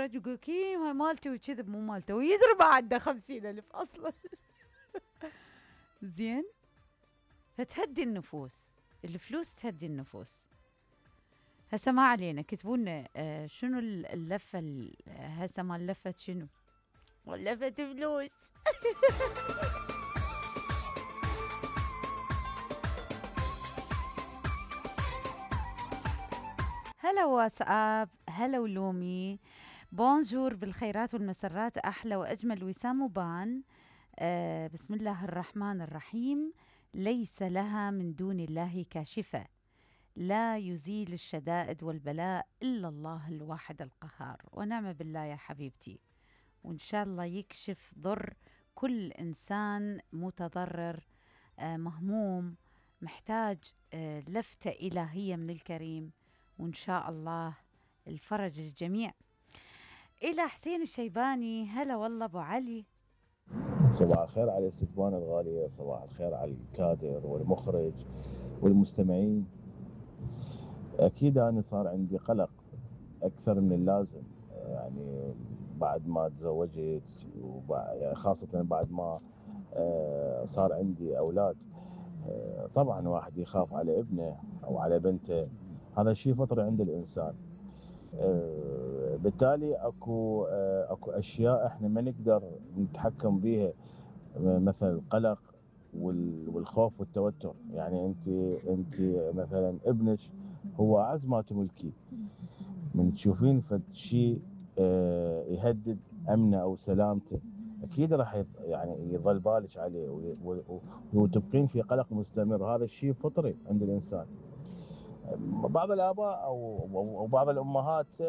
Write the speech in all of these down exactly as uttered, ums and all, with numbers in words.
يتفرج ويقول كي هاي مالتي وكذب مو مالته ويدري ما عنده خمسين ألف أصلا. زين فتهدي النفوس، الفلوس تهدي النفوس. هسه ما علينا، كتبوا لنا آه شنو اللفة هسه مال لفة شنو؟ لفة فلوس. هلا واتساب، هلا ولومي، بونجور بالخيرات والمسرات، أحلى وأجمل وسام وبان. آه بسم الله الرحمن الرحيم. ليس لها من دون الله كاشفة، لا يزيل الشدائد والبلاء إلا الله الواحد القهار. ونعم بالله يا حبيبتي، وإن شاء الله يكشف ضر كل إنسان متضرر آه مهموم محتاج آه لفتة إلهية من الكريم، وإن شاء الله الفرج الجميع. إلى حسين الشيباني، هلا والله أبو علي. صباح الخير على الستبان الغالية، صباح الخير على الكادر والمخرج والمستمعين. أكيد أنا صار عندي قلق أكثر من اللازم، يعني بعد ما تزوجت وبعد خاصة بعد ما صار عندي أولاد. طبعا واحد يخاف على ابنه أو على بنته، هذا شيء فطري عند الإنسان. بالتالي اكو اكو اشياء احنا ما نقدر نتحكم بيها، مثل القلق والخوف والتوتر. يعني انت انت مثلا ابنك هو اعز ما تملكي، من تشوفين فد شيء يهدد امنه او سلامته اكيد راح يعني يظل بالك عليه وتبقين في قلق مستمر. هذا الشيء فطري عند الانسان. بعض الاباء او او بعض الامهات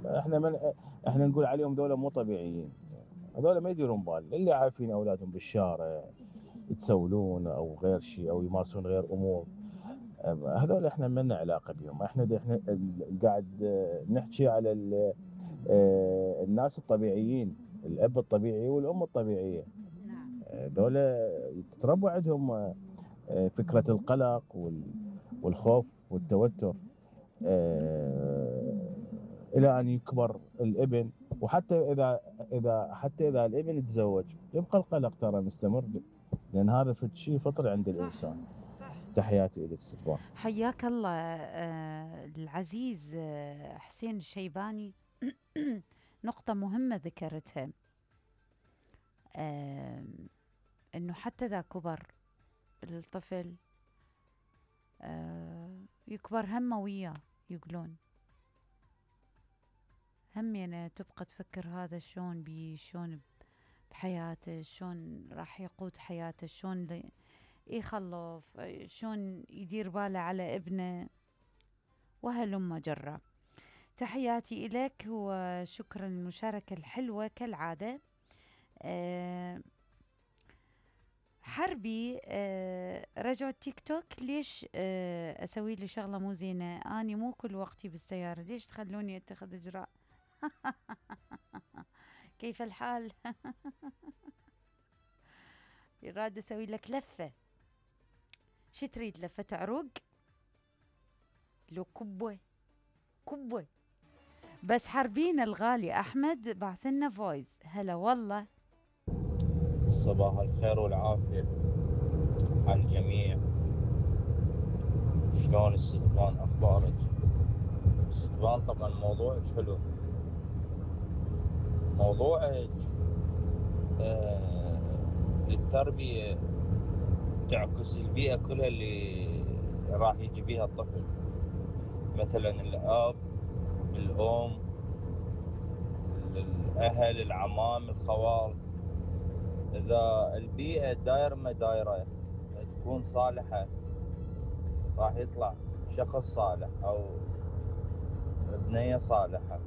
احنا من احنا نقول عليهم دولة مو طبيعيين، هذول ما يديرون بال، اللي عارفين اولادهم بالشارع يتسولون او غير شيء او يمارسون غير امور، هذول احنا ما لنا علاقه بهم. احنا احنا قاعد نحكي على الناس الطبيعيين، الاب الطبيعي والام الطبيعيه. هذول تتربوا عندهم فكره القلق والخوف والتوتر الى ان يكبر الابن. وحتى اذا اذا حتى اذا الابن تزوج يبقى القلق ترى مستمر، لان هذا شيء فطري عند صح الانسان. صح. تحياتي لك ستبان. حياك الله آه العزيز آه حسين الشيباني. نقطة مهمة ذكرتها، آه انه حتى اذا كبر الطفل آه يكبر همه وياه، يقولون هم يعني تبقى تفكر هذا شلون بي شلون بحياته، شلون راح يقود حياته، شلون يخلف، شلون يدير باله على ابنه، وهلم جرة. تحياتي إليك وشكرا للمشاركة الحلوة كالعادة. أه حربي أه رجعوا التيك توك، ليش أه أسوي لي شغلة مو زينة؟ أني مو كل وقتي بالسيارة، ليش تخلوني أتخذ إجراء؟ كيف الحال؟ يراد أسوي لك لفة، شي تريد؟ لفة عروق؟ لو كبوة كبوة بس. حربينا الغالي أحمد بعثلنا فويس. هلا والله. صباح الخير والعافية على الجميع. شلون الستبان؟ أخبارك؟ الستبان طبعا موضوعك حلو، موضوعك آه التربية تعكس البيئة كلها اللي راح يجي بيها الطفل، مثلا الأب، الأم، الأهل، العمام، الخوال. إذا البيئة داير ما دايرة تكون صالحة راح يطلع شخص صالح أو بنية صالحة،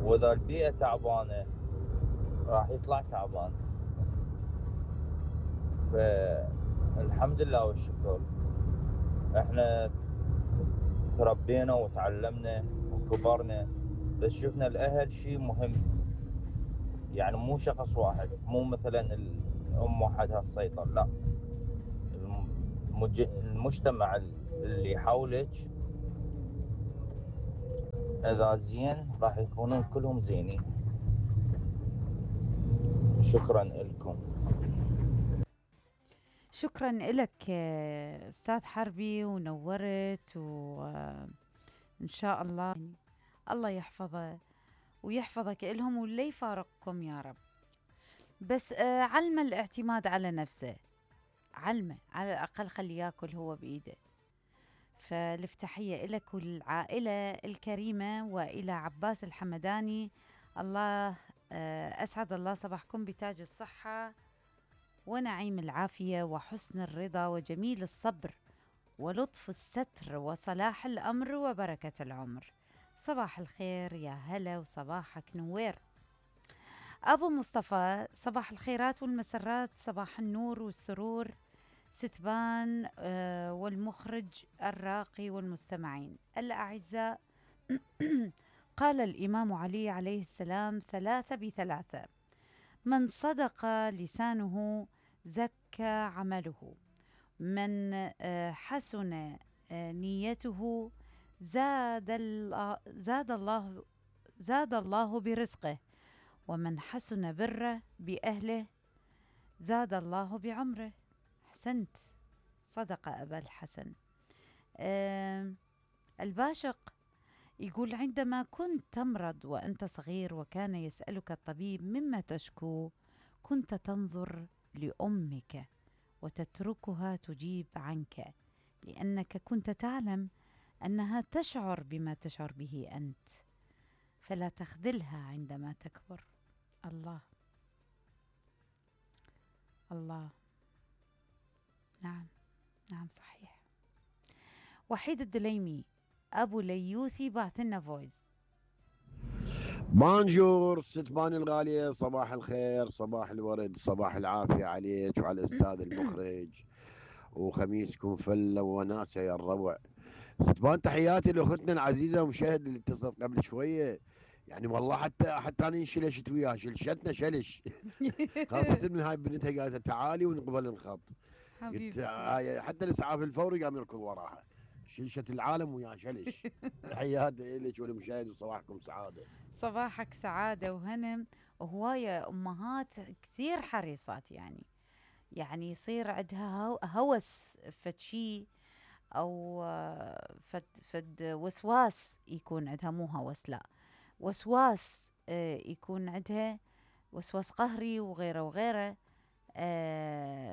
وإذا البيئة تعبانة راح يطلع تعبان. فالحمد لله والشكر احنا تربينا وتعلمنا وكبرنا، بس شفنا الأهل شيء مهم، يعني مو شخص واحد، مو مثلا الأم وحدها تسيطر، لا، المج... المجتمع اللي حولك اذا زين راح يكونون كلهم زينين. شكرا لكم. شكرا لك أستاذ حربي، ونورت، وإن شاء الله يعني الله يحفظه ويحفظك إلهم ولا يفارقكم يا رب. بس آه علمه الاعتماد على نفسه، علمه على الأقل خليه ياكل هو بإيده. فالفتحية إلك والعائلة الكريمة، وإلى عباس الحمداني. الله آه أسعد الله صباحكم بتاج الصحة ونعيم العافية وحسن الرضا وجميل الصبر ولطف الستر وصلاح الأمر وبركة العمر. صباح الخير يا هلا وصباحك نوير. أبو مصطفى صباح الخيرات والمسرات، صباح النور والسرور ستبان آه والمخرج الراقي والمستمعين الأعزاء. قال الإمام علي عليه السلام: ثلاثة بثلاثة، من صدق لسانه زكى عمله، من آه حسن آه نيته زاد الله زاد الله زاد الله برزقه، ومن حسن بره بأهله زاد الله بعمره. أحسنت، صدق أبا الحسن. آه الباشق يقول: عندما كنت تمرض وأنت صغير وكان يسألك الطبيب مما تشكو، كنت تنظر لأمك وتتركها تجيب عنك، لأنك كنت تعلم أنها تشعر بما تشعر به أنت، فلا تخذلها عندما تكبر. الله الله، نعم نعم صحيح. وحيد الدليمي أبو ليوثي بعث لنا فويس. بانجور ستبان الغالية، صباح الخير، صباح الورد، صباح العافية عليك وعلى الأستاذ المخرج، وخميسكم فلة وناسة يا الربع. ستبان تحياتي لأختنا العزيزة ومشاهد اللي اتصلت قبل شوية، يعني والله حتى حتى أنا انشلشت وياها، شلشتنا شلش. خاصة من هاي بنتها قالت تعالي ونقبل الخط. حبيبتي حتى الإسعاف الفوري قام يركض وراها، شلشت العالم ويا شلش. تحياتي لك وللمشاهد وصباحكم سعادة. صباحك سعادة وهنا. وهواية أمهات كثير حريصات، يعني يعني يصير عندها هوس فد شي، أو فد, فد وسواس يكون عندها، مو هوس لا وسواس، يكون عندها وسواس قهري وغيره وغيره.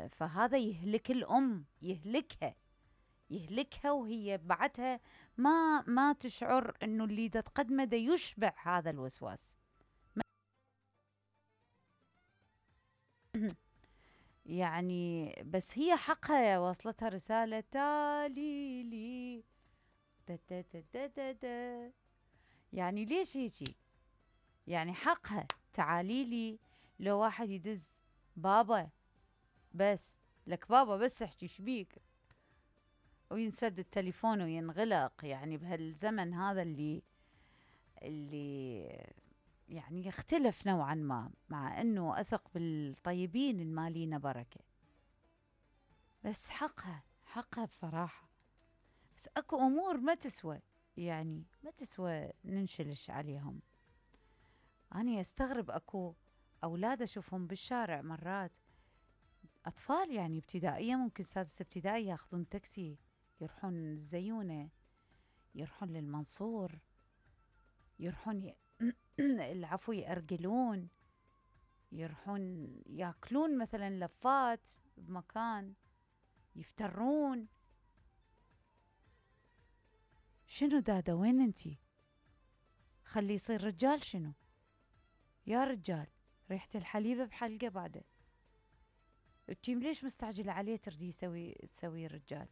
فهذا يهلك الأم، يهلكها يهلكها وهي بعدها ما ما تشعر انه اللي دا تقدمه دا يشبع هذا الوسواس. يعني بس هي حقها، وصلتها رسالة: تالي لي دا دا دا دا دا دا. يعني ليش هيجي؟ يعني حقها تعالي لي. لو واحد يدز بابا بس لك، بابا بس احكي شبيك، وينسد التليفون وينغلق. يعني بهالزمن هذا اللي اللي يعني يختلف نوعا ما، مع انه اثق بالطيبين المالين بركة، بس حقها حقها بصراحة. بس اكو امور ما تسوى، يعني ما تسوى ننشلش عليهم. أنا استغرب اكو اولاد اشوفهم بالشارع مرات، اطفال يعني ابتدائية، ممكن سادس ابتدائي، ياخذون تاكسي يروحون الزيونة، يروحون للمنصور، يروحون ي... العفو يأرجلون، يروحون ياكلون مثلا لفات بمكان، يفترون. شنو دادا وين انتي؟ خلي يصير رجال. شنو يا رجال؟ ريحة الحليبة بحلقة بعده. انتي ليش مستعجلة عليه تردي يسوي تسوي رجال؟